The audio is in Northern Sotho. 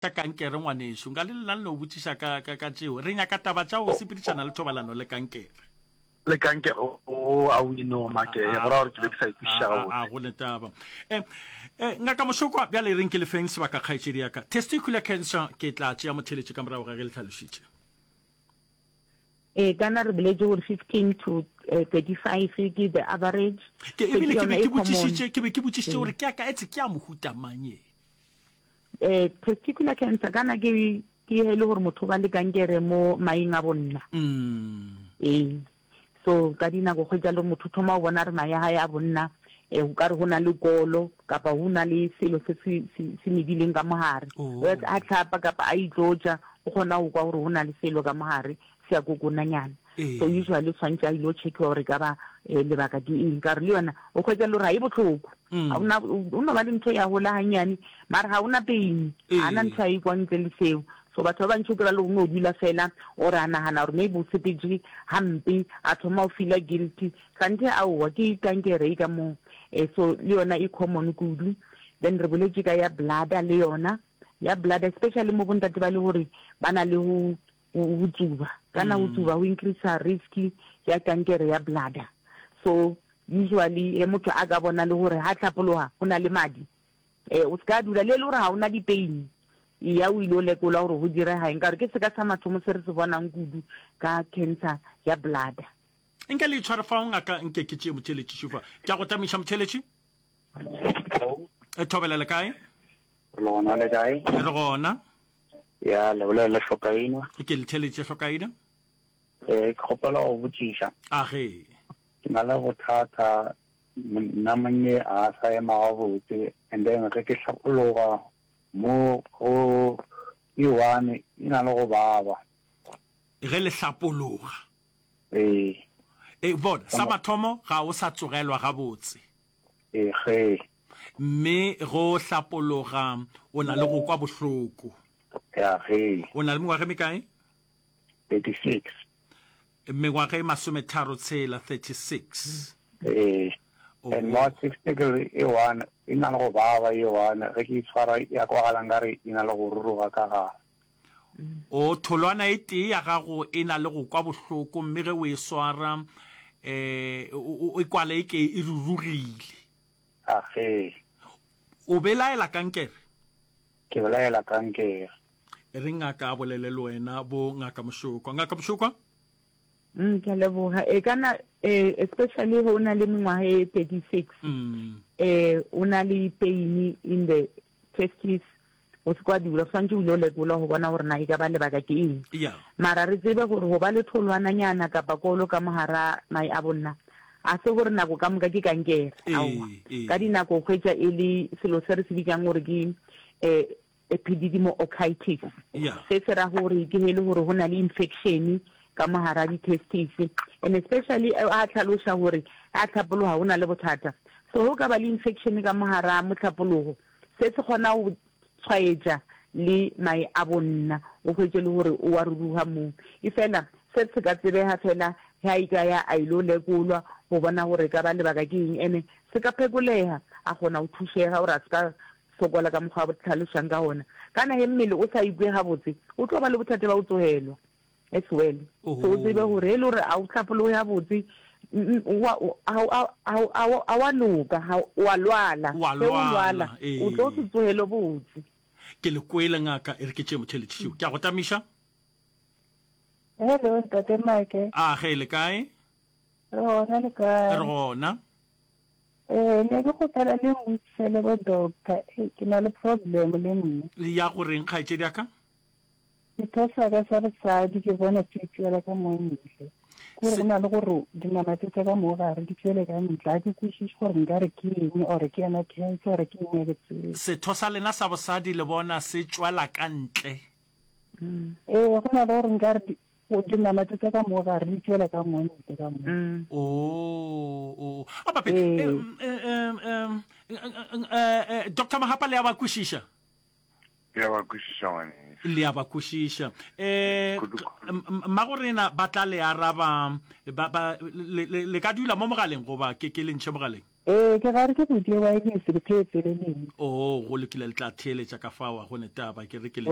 Ka kankere, ngwanešu. Nka le lena le no botšiša ka, ka, ka tšeo. Re nyaka taba tša go sepedišana le thobalano le kankere. Le kankere, oo, aowi, no, make, go ra gore ke be ke sa e kwešiša gabotse. A, a go ne taba. E, e, Ngaka Mošokwa, bjale e reng ke le feng sebaka, kgaetšedi ya ka. Testicular cancer, ke tla tšea motheeletši ka morago ga ge le hlalošitše. Ee, kana re boletše gore 15 to 35 ke the average. Ke, ebile ke be ke botšišitše, ke be ke botšišitše gore ke ya ka, etse ke ya mohuta mang ye? Eh, testicular cancer kana ke ke e le gore motho ba le kankere mo maeng a bonna. Mm. Ee. So ka dinako kgwetsa le motho thoma o bona re mae a hae a bonna eh o ka re go na le kolo kapa go na le selo se se se medileng ka mogare. Oh. A tlhapa kapa a itlotša o kgona go kwa gore go na le selo ka mogare se a kokonanyana. Ee. So usually o tshwanetse a ile checkiwa gore e ka ba eh, lebaka ke eng ka gore le yona o kgwetsa le gore ga e botlhoko Mm. ga ona o no ba le ntho ya gola gannyane mara ga ona pain ga na Ee. ntho a e kwang ntle le seo so batho ba bantši o kry-a le o no dula fela or a nagana gore maybe o sepetse gampe a thoma o feela guilty kganthe aowa ke kankere e ka moo um so le yona e common kudu then re boletše ka ya bladder le yona ya bladder especially mo bontate ba le gore ba na le go go tsuba kana go tsuba go increase risk ya kankere ya bladder so usually he motho a ka bona le gore ha hlapologa go na le madi eh o se ka dula le le gore ga o na di-pain ya o ile o lekola gore go direga eng ka gore ke seka sa mathomo se re se bonang kudu ka cancer ya bladder. Nke le itshware fao ngaka nke ke tšee motheeletši šufa. Ke a go tamiša motheeletši. E thobela le kae? Re gona le kae? Re gona. Ya, le bolela le Hlokaina. Ke le theletše Hlokaina. Eh, ke kgopela go botšiša. A ge. Ke na le bothata nna monnye a sa ema gabotse and then ge ke hlapologa mo go e one e na le go baba. Ge le hlapologa. Ee. E bona, sa mathomo ga o sa tsogelwa gabotse. Ee, ge. Mme go hlapologa o na le go kwa bohloko. Ya, ge. O na le mengwaga e mekae? 36. Mengwaga e masometharo tshela, 36. Ee. Oh. And mo testicle e one e na le go baba e one ge ke itshwara ya kwagala nkare e na le go ruruga ka gare. O, tholwana e tee ya gago e na le go kwa bohloko mme ge o e swara um e kwala e ke e rurugile. A ge. O belaela kankere? Ke belaela kankere. E re ngaka a bolele le wena, bo Ngaka Mošokwa. Ngaka Mošokwa? Mm, ke a leboga. E kana eh, especially ge o na le mengwaga e 36 mm. eh, o na le pain in the testes O se ke wa dula, o swanetše o ile o lekolwa go bona gore na e ka ba lebaka ke eng. Yeah. Mara re tsebe gore go ba le tholwananyana kapa kolo ka mo gara mae a bonna, ga se gore nako ka moka ke kankere. Ee, Aowa. ee. Ka dinako o hwetša e le selo se re se bitšang gore ke eh, epididymo-orchitis. Yeah. Se se ra gore ke ge e le gore go na le infection ka mo gara di-testis. And especially a hlaloša gore a hlapologa go na le bothata. So ge o ka ba le infection ka mo gara mohlapologo, Se se kgona go tshwaetša le mae a bonna, o hwetše le gore o a ruruga moo. Efela se se ka tsebega fela ge a ikaya a ilo lekolwa go bona gore e ka ba lebaka ke eng, ene se ka phekolega a kgona go thušega gore a se ka sokola ka mokgwa a hlalošang ka gona. Kana ge mmele o sa ikwe gabotse, o tlo ba le bothata bja go tsogelwa. as well. So o tsebe gore e le gore a o hlapologe gabotse, ga wa loka, o a lwala. Wa Ge o lwala, lwala, o tlo se ee. tsogele botse. Ke le kwele ngaka, e re ke tšee motheeletši šo. Ke a go tamiša. Hello, Ntate Make. A ge le kae? Re gona le kae? Re gona. Eh, ne ke kgopela le mbutsele bo doctor. Eh, ke na le problem le nna. Ya go reng kgaetšedi ya ka? Setho sa ka sa bosadi ke bona se tšwela ka mo ntle. Kore go na le gore dinama tse tsa ka mo gare di tšwele ka ntle. Ga ke kwešiše gore nka re ke eng or ke yona cancer or ke eng ga ke tsebe. Setho sa lena sa bosadi le bona se tšwela ka ntle. Ee, go na le gore nka re dinama tse tsa ka mo gare di tšwela ka mo ntle ka mo. Oh, oh. A bape, eh, eh, eh, eh, eh, Doctor Mahapa le a ba kwešiša? Le a ba kwešiša, ngwanešu. Le a ba kwešiša. Um, mmagorena ba tla le araba, ba, ba, le, le, le ka dula mo mogaleng goba ke, ke le ntšhe mogaleng? Ee, ke gare ke bodie wireless, ke theetseleleng. Oo, go lokile, le tla theeletša ka fao, a go ne taba, ke re ke le.